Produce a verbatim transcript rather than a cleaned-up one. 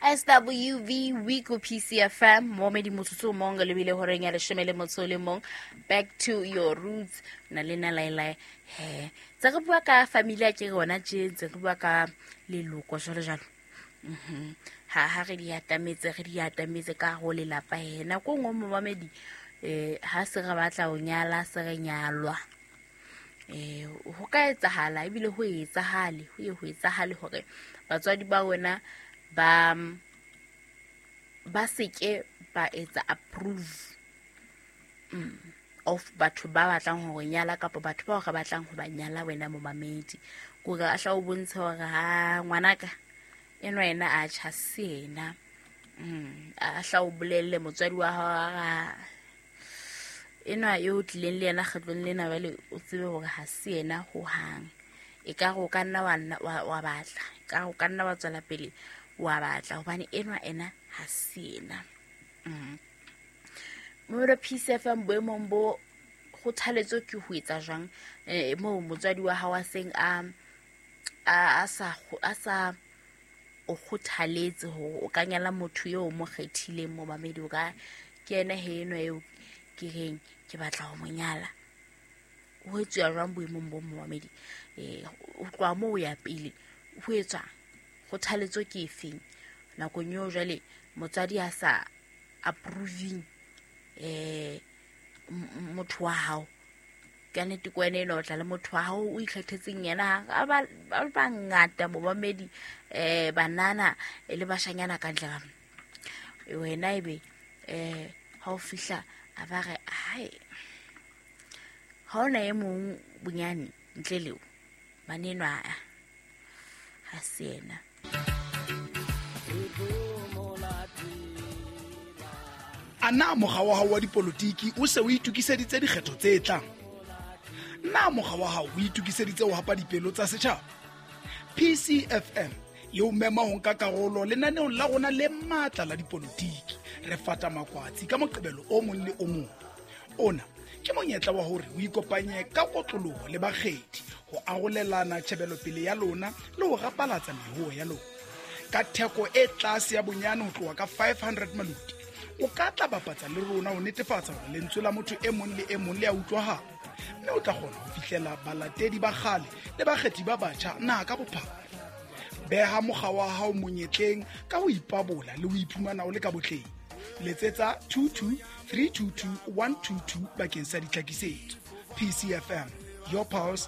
S W V Week ho P C F M momedi motsotso o mong lebile horeng ya leshome le motso o le mong. Back to your roots na le na laelae he tse re bua ka familia ke rona tje ntse re bua ka leloko jwalo jwalo. Mhm. ha ha re di atametse, re di atametse ka ho lelapa he nako e nngwe momamedi eh ha se re batla ho nyala, se re nyalwa, eh ho ka etsahala ebile ho etsahale, ho ye ho etsahale hore batswadi ba wena ba ba seke ba etsa approve mm, of batho ba batlang ho re nyala kapa batho bao re batlang ho ba nyala. Wena momamedi, kore a hla o bontshe hore ha ngwanaka enwa yena a tjha se yena mm, a hla o bolelle motswadi wa hao a re, enwa eo tlileng le yena kgetlong lena jwale o tsebe hore ha se yena hohang. E ka re o ka nna wa nna- wa wa batla, e ka re o ka nna wa tswela pele wa batla hobane enwa ena ha se yena mm. Momelo P C F M boemong bo kgothaletso ke ho etsa jwang eh, moo motswadi wa hao a seng a a a sa kgo- a sa o kgothaletse hore o ka nyala motho eo o mo kgethileng? Momamedi, o ka ke ena he enwa eo ke reng ke batla ho mo nyala, ho etsuwa jwang boemong bo momamedi? um ho tloha moo ho ya pele ho etswang? Kgothaletso ke efeng nakong eo jwale motswadi a sa approving um motho wa hao? Ka nnete ke wena enwa o tla le motho wa hao o ikgethetseng yena. A ba ba bangata momamedi, um banana le bashanyana ka ntle ka mo. Wena ebe um ha o fihla a ba re hai, ha ona e mong bonyane ntle leo banenwa ha se yena. A na mokga wa hao wa dipolotiki o se o itokiseditse dikgetho tse tlang? Na mokga wa hao o itokiseditse ho hapa dipelo tsa setjhaba? P C F M e o mema ho nka karolo lenaneong la rona le matla la dipolotiki Re Fata Makwatsi ka Moqebelo o mong le o mong. Ona ke monyetla wa hore o ikopanye ka kotloloho le bakgethi ho arolelana tjhebelopele ya lona le ho rapalatsa mehoo ya lona ka theko e tlase ya bonyane ho tloha ka five hundred maluti. O ka tla bapatsa le rona ho netefatsa hore lentswe la motho e mong le e mong le a utlwahala, mme o tla kgona ho fihlela balatedi ba kgale le bakgethi ba batjha naha ka bophara. Beha mokga wa hao monyetleng ka ho ipabola le ho iphumana o le ka botleng. Letsetsa two two three two two one two two bakeng sa ditlhakisetso. P C F M, your pulse.